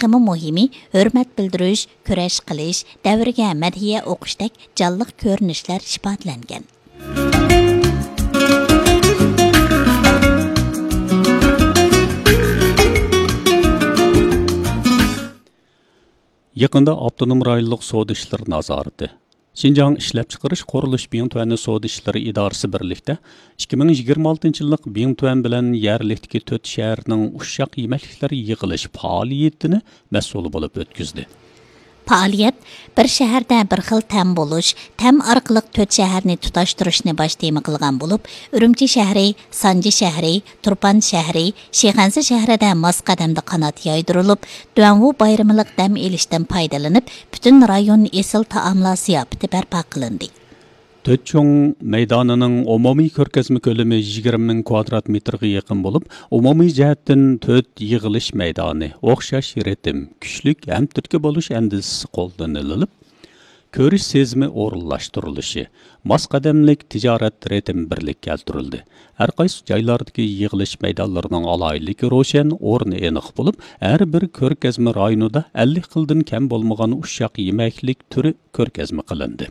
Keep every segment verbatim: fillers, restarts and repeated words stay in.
تېخىمۇ مۇھىمى، ھۆرمەت بىلدۈرۈش، كۈرەش قىلىش، دەۋرگە مەدھىيە ئوقۇشتەك جانلىق كۆرۈنۈشلەر ئىپادىلەنگەن. يېقىندا ئاپتونوم رايونلۇق سودا ئىشلىرى نازارىتى، شىنجاڭ ئىشلەپچىقىرىش قۇرۇلۇش بىڭتۈەنى سودا ئىشلىرى ئىدارىسى بىرلىكتە ئىككى مىڭ يىگىرمە ئالتىنچى يىللىق بىڭتۈەن بىلەن يەرلىكتىكى تۆت شەھەرنىڭ ئۇششاق يېمەكلىكلەر يىغىلىش پائالىيىتىنى مەسئۇل بولۇپ ئۆتكۈزدى. پائالىيەت بىر شەھەردە بىر خىل تەم بولۇش، تەم ئارقىلىق تۆت شەھەرنى تۇتاشتۇرۇشنى باش تېما قىلغان بولۇپ، ئۈرۈمچى شەھىرى، سانجى شەھىرى، تۇرپان شەھىرى، شىخەنزە شەھىرىدە ماس قەدەمدە قانات يايدۇرۇلۇپ، دۇەنۋۇ بايرىملىق دەم ئېلىشتىن پايدىلىنىپ، پۈتۈن رايون ئېسىل تائاملار زىياپىتى بەرپا قىلىندى. تۆت چوڭ مەيدانىنىڭ ئومۇمىي كۆرگەزمە كۆلىمى يىگىرمە مىڭ كۋادرات مېتىرغا يېقىن بولۇپ، ئومۇمىي جەھەتتىن تۆت يىغىلىش مەيدانى، ئوخشاش رىتىم، كۈچلۈك ھەم تۈرتكە بولۇش ئەندىزىسى قوللىنىلىپ، كۆرۈش سېزىمى ئورۇنلاشتۇرۇلۇشى، ماس قەدەملىك تىجارەت رىتىمى بىرلىككە كەلتۈرۈلدى. ھەر قايسى جايلاردىكى يىغىلىش مەيدانلىرىنىڭ ئالاھىدىلىكى روشەن، ئورنى ئېنىق بولۇپ، ھەر بىر كۆرگەزمە رايونىدا ئەللىك خىلدىن كەم بولمىغان ئۇششاق يېمەكلىك تۈرى كۆرگەزمە قىلىندى.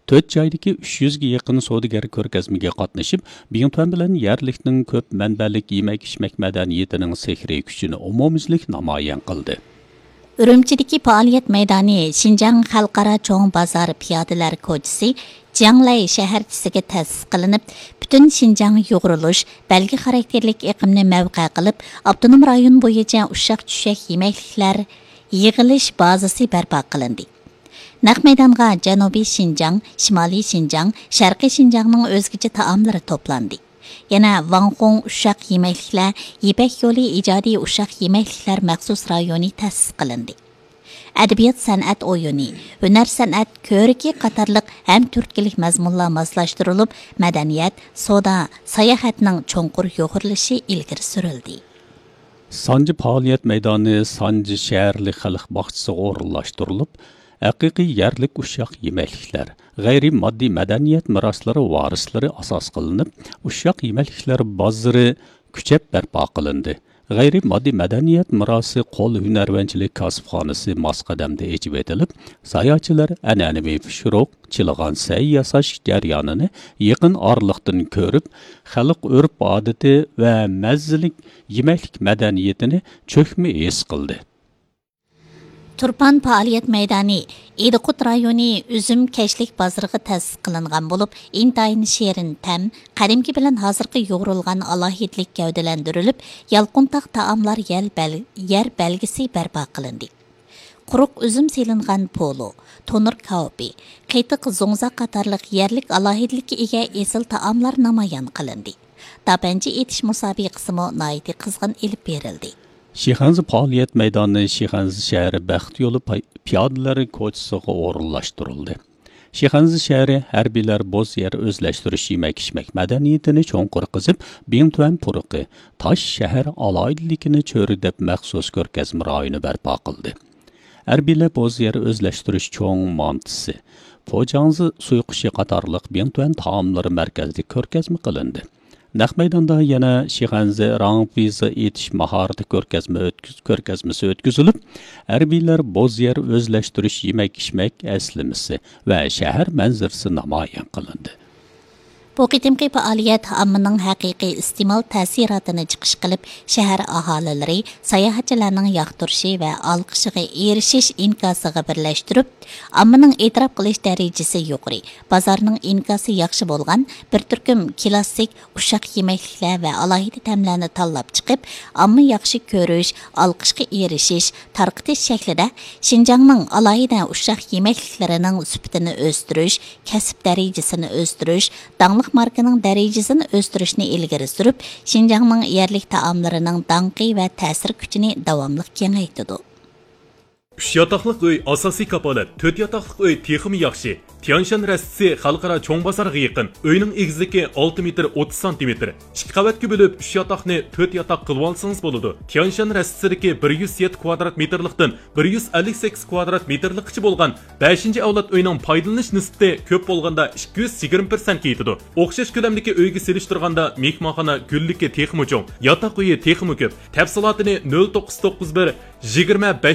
تۆت جايدىكى ئۈچ يۈزگە يېقىن سودىگەر كۆرگەزمىگە قاتنىشىپ، بىڭتۈەن بىلەن يەرلىكنىڭ كۆپ مەنبەلىك يېمەك-ئىچمەك مەدەنىيىتىنىڭ سېھرىي كۈچىنى ئومۇميۈزلۈك نامايان قىلدى. ئۈرۈمچىدىكى پائالىيەت مەيدانى شىنجاڭ خەلقئارا چوڭ بازار پىيادىلەر كوچىسى جياڭلەي شەھەرچىسىگە تەسىس قىلىنىپ، پۈتۈن شىنجاڭ يۇغۇرۇلۇش، بەلگە خاراكتېرلىك ئېقىمنى مەۋقە قىلىپ، ئاپتونوم رايون بويىچە ئۇششاق-چۈششەك يېمەكلىكلەر يىغىلىش بازىسى بەرپا قىلىندى. نەق مەيدانغا جەنۇبىي شىنجاڭ، شىمالىي شىنجاڭ، شەرقىي شىنجاڭنىڭ ئۆزگىچە تائاملىرى توپلاندى. يەنە ۋاڭخۇڭ ئۇششاق يېمەكلىكلەر، يىپەك يولى ئىجادىي ئۇششاق يېمەكلىكلەر مەخسۇس رايونى تەسىس قىلىندى. ئەدەبىيات-سەنئەت ئويۇنى، ھۈنەر-سەنئەت كۆرىكى قاتارلىق ھەم تۈرتكىلىك مەزمۇنلار ماسلاشتۇرۇلۇپ، مەدەنىيەت، سودا، ساياھەتنىڭ چوڭقۇر يۇغۇرۇلۇشى ئىلگىرى سۈرۈلدى. سانجى پائالىيەت مەيدانى سانجى شەھەرلىك خەلق باغچىسىغا ئورۇنلاشتۇرۇلۇپ، ھەقىقىي يەرلىك ئۇششاق يېمەكلىكلەر، غەيرىي ماددىي مەدەنىيەت مىراسلىرى ۋارىسلىرى ئاساس قىلىنىپ، ئۇششاق يېمەكلىكلەر بازىرى كۈچەپ بەرپا قىلىندى. غەيرىي ماددىي مەدەنىيەت مىراسى قول ھۈنەرۋەنچىلىك كاسىپخانىسى ماس قەدەمدە ئېچىۋېتىلىپ، ساياھەتچىلەر ئەنئەنىۋى پىشۇرۇق، چىلىغان سەي ياساش جەريانىنى يېقىن ئارىلىقتىن كۆرۈپ، خەلق ئۆرپ-ئادىتى ۋە مەززىلىك يېمەكلىك مەدەنىيىتىنى چۆكمە ھېس قىلدى. تۇرپان پائالىيەت مەيدانى ئىدىقۇت رايونى ئۈزۈم كەچلىك بازىرىغا تەسىس قىلىنغان بولۇپ، ئىنتايىن شېرىن تەم، قەدىمكى بىلەن ھازىرقى يۇغۇرۇلغان ئالاھىدىلىك گەۋدىلەندۈرۈلۈپ، يالقۇنتاغ تائاملار يەل بەل-، يەر بەلگىسى بەرپا قىلىندى. قۇرۇق ئۈزۈم سېلىنغان پولۇ، تونۇر كاۋىپى، قېتىق زوڭزا قاتارلىق يەرلىك ئالاھىدىلىككە ئىگە ئېسىل تائاملار نامايان قىلىندى. داپەنچى ئېتىش مۇسابىقىسىمۇ ناھايىتى قىزغىن ئېلىپ بېرىلدى. شىخەنزە پائالىيەت مەيدانى شىخەنزە شەھىرى بەخت يولى پاي-، پىيادىلەر كوچىسىغا ئورۇنلاشتۇرۇلدى. شىخەنزە شەھىرى ھەربىيلەر بوز يەر ئۆزلەشتۈرۈش يېمەك-ئىچمەك مەدەنىيىتىنى چوڭقۇر قېزىپ، بىڭتۈەن پۇرىقى، تاش شەھەر ئالاھىدىلىكىنى چۆرىدەپ مەخسۇس كۆرگەزمە رايونى بەرپا قىلدى. ھەربىيلەر بوز يەر ئۆزلەشتۈرۈش چوڭ مانتىسى، پوجاڭزى سۇيۇقۇشى قاتارلىق بىڭتۈەن تائاملىرى مەركەزلىك كۆرگەزمە قىلىندى. نەق مەيداندا يەنە شىخەنزە راڭپىزا ئېتىش ماھارىتى كۆرگەزمە ئۆتكۈز-، كۆرگەزمىسى ئۆتكۈزۈلۈپ، ھەربىيلەر بوز يەر ئۆزلەشتۈرۈش يېمەك-ئىچمەك ئەسلىمىسى ۋە شەھەر مەنزىرىسى نامايان قىلىندى. بۇ قېتىمقى پائالىيەت ئاممىنىڭ ھەقىقىي ئىستېمال تەسىراتىنى چىقىش قىلىپ، شەھەر ئاھالىلىرى، ساياھەتچىلەرنىڭ ياقتۇرۇشى ۋە ئالقىشىغا ئېرىشىش ئىنكاسىغا بىرلەشتۈرۈپ، ئاممىنىڭ ئېتىراپ قىلىش دەرىجىسى يۇقىرى، بازارنىڭ ئىنكاسى ياخشى بولغان بىر تۈركۈم كلاسسىك ئۇششاق يېمەكلىكلەر ۋە ئالاھىدە تەملەرنى تاللاپ چىقىپ، ئامما ياخشى كۆرۈش، ئالقىشقا ئېرىشىش، تارقىتىش شەكلىدە شىنجاڭنىڭ ئالاھىدە ئۇششاق يېمەكلىكلىرىنىڭ سۈپىتىنى ئۆستۈرۈش، كەسىپ دەرىجىسىنى ئۆستۈرۈش، داڭلىق ماركىنىڭ دەرىجىسىنى ئۆستۈرۈشنى ئىلگىرى سۈرۈپ، شىنجاڭنىڭ يەرلىك تائاملىرىنىڭ داڭقى ۋە تەسىر كۈچىنى داۋاملىق كېڭەيتىدۇ. ئۈچ ياتاقلىق ئۆي ئاساسىي كاپالەت، تۆت ياتاقلىق ئۆي تېخىمۇ ياخشى. تيانشان رەستىسى خەلقئارا چوڭ بازارغا يېقىن. ئۆينىڭ ئېگىزلىكى ئالتە مېتىر ئوتتۇز سانتىمېتىر. ئىككى قەۋەتكە بۆلۈپ، ئۈچ ياتاقنى تۆت ياتاق قىلىۋالسىڭىز بولىدۇ. تيانشان رەستىسىدىكى بىر يۈز يەتتە كۋادرات مېتىرلىقتىن بىر يۈز ئەللىك سەككىز كۋادرات مېتىرلىققىچە بولغان بەشىنچى ئەۋلاد ئۆينىڭ پايدىلىنىش نىسبىتى كۆپ بولغاندا ئىككى يۈز يىگىرمە پىرسەنتكە يېتىدۇ. ئوخشاش كۆلەمدىكى ئۆيگە سېلىشتۇرغاندا مېھمانخانا گۈللۈكى تېخىمۇ چوڭ، ياتاق ئۆيى تېخىمۇ كۆپ. تەپسىلاتىنى نۆل توققۇز توققۇز بىر، يىگىرمە بەش